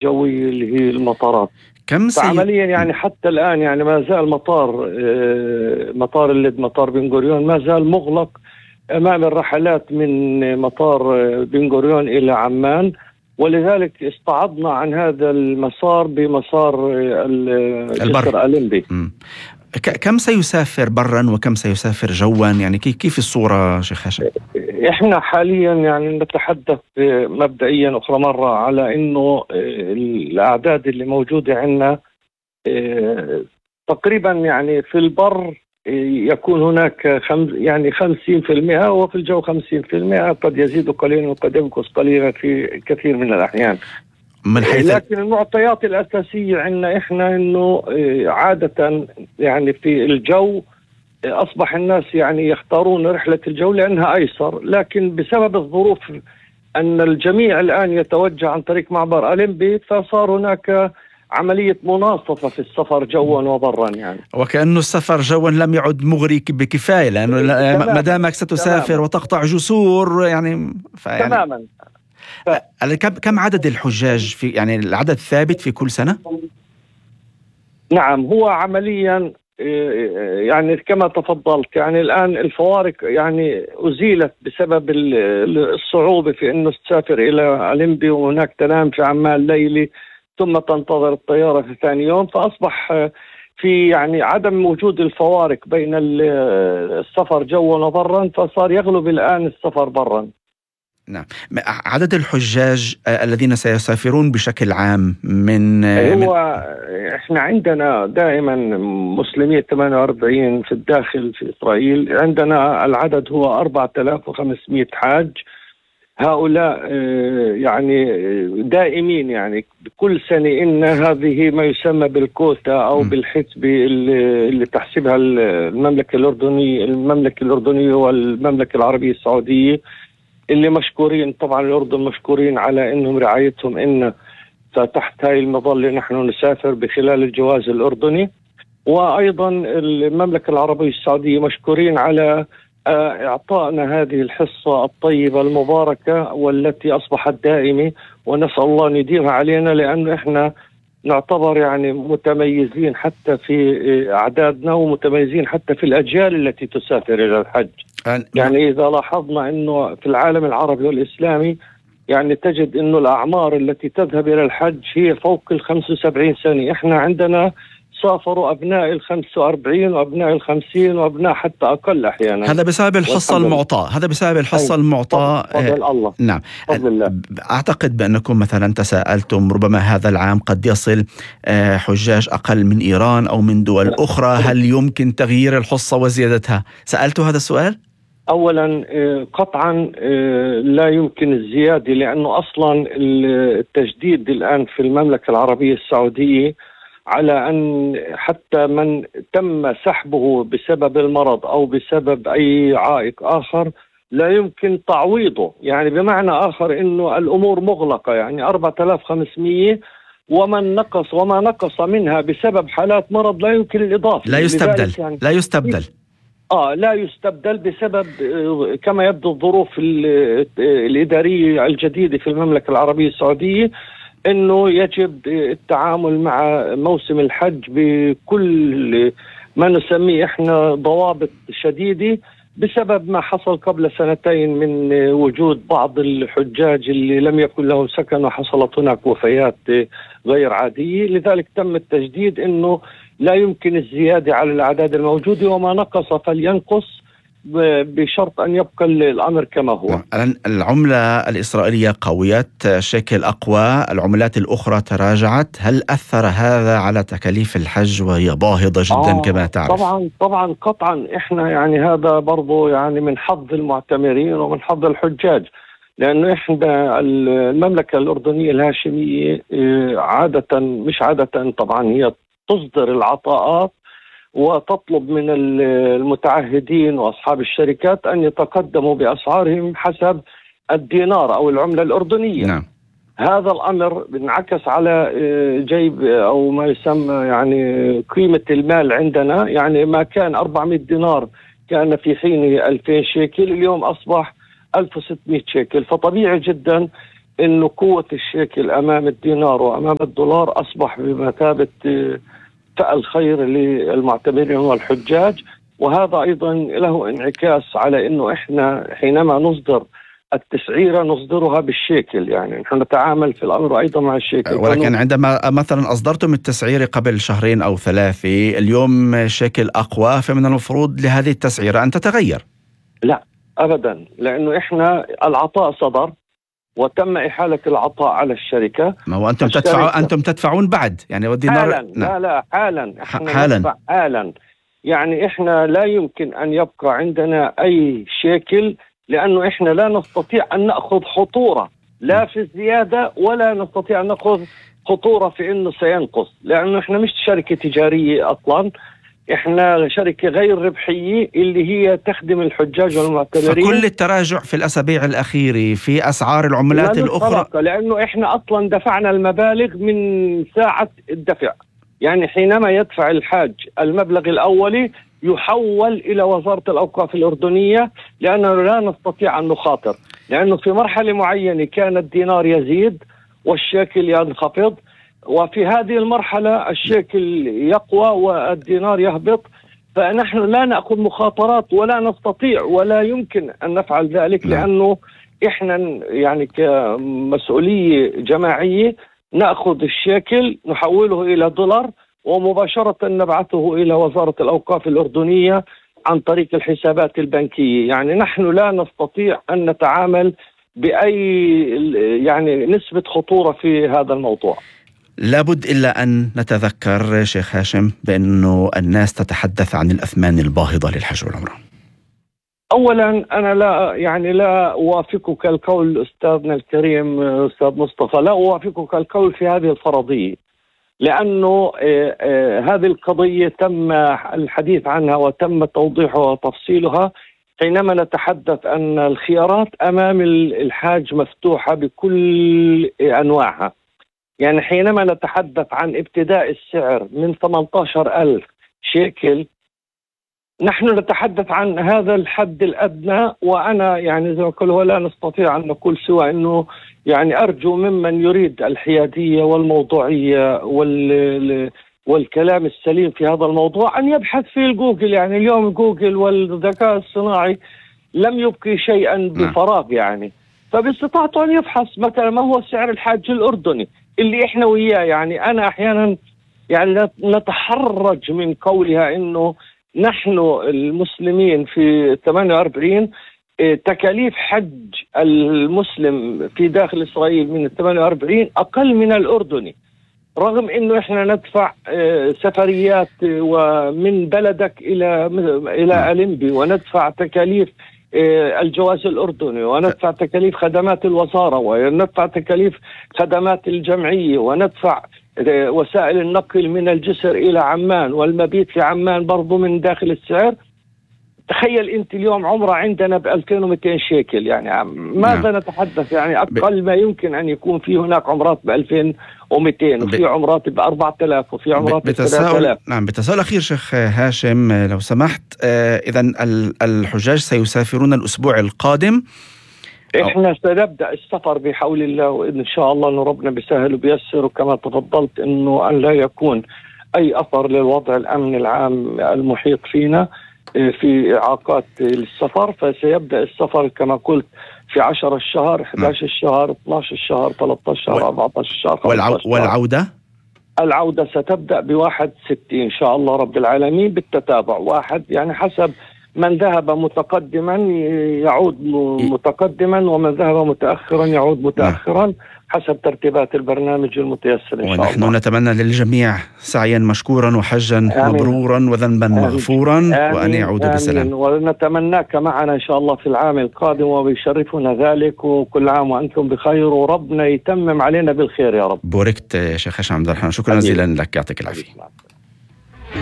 الجوية اللي هي المطارات. كم فعمليا يعني حتى الآن يعني ما زال مطار اللد، مطار بن غوريون ما زال مغلق أمام الرحلات من مطار بن غوريون إلى عمان، ولذلك استعضنا عن هذا المسار بمسار الجسر ألمبي. كم سيسافر برا وكم سيسافر جوا؟ يعني كيف الصورة شيخ هاشم؟ احنا حاليا يعني نتحدث مبدئيا أخرى مرة على إنه الأعداد اللي موجودة عندنا تقريبا يعني في البر يكون هناك يعني 50%، وفي الجو 50%، قد يزيد قليلا وقد ينقص قليلا في كثير من الأحيان. لكن المعطيات الأساسية عندنا إحنا إنه عادة يعني في الجو أصبح الناس يعني يختارون رحلة الجو لأنها أيسر، لكن بسبب الظروف أن الجميع الآن يتوجه عن طريق معبر ألمبي، فصار هناك عملية مناصفة في السفر جوا وبرا يعني. وكأنه السفر جوا لم يعد مغري بكفاية، لأنه ما دامك ستسافر وتقطع جسور يعني تماما. كم عدد الحجاج في يعني العدد ثابت في كل سنة؟ نعم، هو عمليا يعني كما تفضلت يعني الآن الفوارق يعني أزيلت بسبب الصعوبة في أنه تسافر إلى ألمبي وهناك تنام في عمان ليلي ثم تنتظر الطيارة في ثاني يوم، فأصبح في يعني عدم وجود الفوارق بين السفر جوا وبرا، فصار يغلب الآن السفر برا. نعم. عدد الحجاج الذين سيسافرون بشكل عام احنا عندنا دائما مسلمين 48 في الداخل في إسرائيل، عندنا العدد هو 4500 حاج. هؤلاء يعني دائمين يعني كل سنة إن هذه ما يسمى بالكوتا أو بالحسبة اللي تحسبها المملكة الأردنية والمملكة العربية السعودية، اللي مشكورين طبعا الأردن مشكورين على إنهم رعايتهم إن فتحت هاي المظلة نحن نسافر بخلال الجواز الأردني، وأيضا المملكة العربية السعودية مشكورين على إعطائنا هذه الحصة الطيبة المباركة والتي أصبحت دائمة، ونسأل الله أن يديمها علينا، لأنه إحنا نعتبر يعني متميزين حتى في أعدادنا ومتميزين حتى في الأجيال التي تسافر إلى الحج. يعني إذا لاحظنا أنه في العالم العربي والإسلامي يعني تجد أنه الأعمار التي تذهب إلى الحج هي فوق 75 سنة. إحنا عندنا سافروا أبناء 45 وأبناء 50 وأبناء حتى أقل أحيانا. هذا بسبب الحصة المعطاة، هذا بسبب الحصة المعطاة. فضل الله. نعم. أعتقد بأنكم مثلا تساءلتم ربما هذا العام قد يصل حجاج أقل من إيران أو من دول أخرى، هل يمكن تغيير الحصة وزيادتها؟ سألت هذا السؤال؟ أولا قطعا لا يمكن الزيادة، لأنه أصلا التجديد الآن في المملكة العربية السعودية على أن حتى من تم سحبه بسبب المرض أو بسبب أي عائق آخر لا يمكن تعويضه، يعني بمعنى آخر أنه الأمور مغلقة، يعني 4500 وما نقص منها بسبب حالات مرض لا يمكن الإضافة. لا يستبدل يعني لا يستبدل بسبب كما يبدو الظروف الإدارية الجديدة في المملكة العربية السعودية، انه يجب التعامل مع موسم الحج بكل ما نسميه احنا ضوابط شديدة، بسبب ما حصل قبل 2 من وجود بعض الحجاج اللي لم يكن لهم سكن وحصلت هناك وفيات غير عادية. لذلك تم التجديد انه لا يمكن الزيادة على الأعداد الموجودة، وما نقص فلينقص بشرط أن يبقى الأمر كما هو. العملة الإسرائيلية قويت، شكل أقوى، العملات الأخرى تراجعت، هل أثر هذا على تكاليف الحج وهي باهظة جدا كما تعرف؟ طبعا قطعا. إحنا يعني هذا برضو يعني من حظ المعتمرين ومن حظ الحجاج، لأنه إحنا المملكة الأردنية الهاشمية مش عادة طبعا هي تصدر العطاءات وتطلب من المتعهدين وأصحاب الشركات أن يتقدموا بأسعارهم حسب الدينار أو العملة الأردنية. نعم. هذا الأمر بنعكس على جيب أو ما يسمى يعني قيمة المال عندنا، يعني ما كان 400 دينار كان في حين 2000 شيكل، اليوم أصبح 1600 شيكل. فطبيعي جدا إنه قوة الشيكل أمام الدينار وأمام الدولار أصبح بمثابة فأل خير للمعتمرين والحجاج. وهذا أيضا له انعكاس على إنه إحنا حينما نصدر التسعيرة نصدرها بالشيكل، يعني نحن نتعامل في الأمر أيضا مع الشيكل. ولكن عندما مثلا أصدرتم التسعيرة قبل 2 أو 3، اليوم شيكل أقوى، فمن المفروض لهذه التسعيرة أن تتغير. لا أبدا، لأنه إحنا العطاء صدر وتم إحالة العطاء على الشركة. ما هو أنتم تدفعون بعد، يعني والدينار حالا. لا حالا، حالا. يعني إحنا لا يمكن أن يبقى عندنا أي شيكل، لأنه إحنا لا نستطيع أن نأخذ خطورة لا في الزيادة ولا نستطيع أن نأخذ خطورة في أنه سينقص، لأنه إحنا مش شركة تجارية أصلا، إحنا شركة غير ربحية اللي هي تخدم الحجاج والمعتمرين. فكل التراجع في الأسابيع الأخيرة في أسعار العملات الأخرى، لأنه إحنا أصلا دفعنا المبالغ من ساعة الدفع. يعني حينما يدفع الحاج المبلغ الأولي يحول إلى وزارة الأوقاف الأردنية، لأننا لا نستطيع أن نخاطر، لأنه في مرحلة معينة كان الدينار يزيد والشيكل ينخفض، وفي هذه المرحلة الشيكل يقوى والدينار يهبط، فنحن لا نأخذ مخاطرات ولا نستطيع ولا يمكن أن نفعل ذلك، لأنه إحنا يعني كمسؤولية جماعية نأخذ الشيكل نحوله إلى دولار ومباشرة نبعثه إلى وزارة الأوقاف الأردنية عن طريق الحسابات البنكية. يعني نحن لا نستطيع أن نتعامل بأي يعني نسبة خطورة في هذا الموضوع. لابد إلا أن نتذكر شيخ هاشم بأنه الناس تتحدث عن الأثمان الباهظة للحج والعمرة. أولا أنا لا أوافقك القول أستاذنا الكريم أستاذ مصطفى، لا أوافقك القول في هذه الفرضية، لأنه هذه القضية تم الحديث عنها وتم توضيحها وتفصيلها حينما نتحدث أن الخيارات أمام الحاج مفتوحة بكل أنواعها. يعني حينما نتحدث عن ابتداء السعر من 18,000 شيكل، نحن نتحدث عن هذا الحد الأدنى، وأنا يعني زي ما قلت ولا نستطيع أن نقول سوى أنه يعني أرجو ممن يريد الحيادية والموضوعية والكلام السليم في هذا الموضوع أن يبحث في جوجل. يعني اليوم جوجل والذكاء الصناعي لم يبقي شيئا بفراغ، يعني فباستطاعته أن يبحث مثلا ما هو سعر الحاج الأردني اللي إحنا وياه. يعني أنا أحيانا يعني نتحرج من قولها إنه نحن المسلمين في 48 تكاليف حج المسلم في داخل إسرائيل من 48 أقل من الأردني، رغم إنه إحنا ندفع سفريات ومن بلدك إلى ألمبي، وندفع تكاليف الجواز الأردني، وندفع تكاليف خدمات الوزارة، وندفع تكاليف خدمات الجمعية، وندفع وسائل النقل من الجسر إلى عمان، والمبيت في عمان برضو من داخل السعر. تخيل أنت اليوم عمرة عندنا ب2200 شيكل، يعني ماذا نتحدث؟ يعني أقل ما يمكن أن يكون في هناك عمرات ب2200 وفي عمرات ب4000 وفي عمرات ب3000. نعم. بتساؤل أخير شيخ هاشم لو سمحت، إذن الحجاج سيسافرون الأسبوع القادم؟ إحنا سنبدأ السفر بحول الله، وإن شاء الله أن ربنا بيسهل وبيسر، وكما تفضلت أنه أن لا يكون أي أثر للوضع الأمن العام المحيط فينا في إعاقات للسفر. فسيبدأ السفر كما قلت في 10 الشهر، 11 الشهر، 12 الشهر، 13 الشهر، 14 الشهر، 15 الشهر. والعودة؟ العودة ستبدأ ب1/6 إن شاء الله رب العالمين بالتتابع، واحد يعني حسب من ذهب متقدما يعود متقدما، ومن ذهب متأخرا يعود متأخرا حسب ترتيبات البرنامج المتيسر إن شاء الله. ونحن نتمنى للجميع سعيا مشكورا وحجا مبرورا وذنبا مغفورا، وأن يعودوا بسلام. ونتمناك معنا إن شاء الله في العام القادم، وبيشرفنا ذلك، وكل عام وأنتم بخير، وربنا يتمم علينا بالخير يا رب. بوركت شيخ هاشم عبد الرحمن، شكرا جزيلا لك، يعطيك العافية.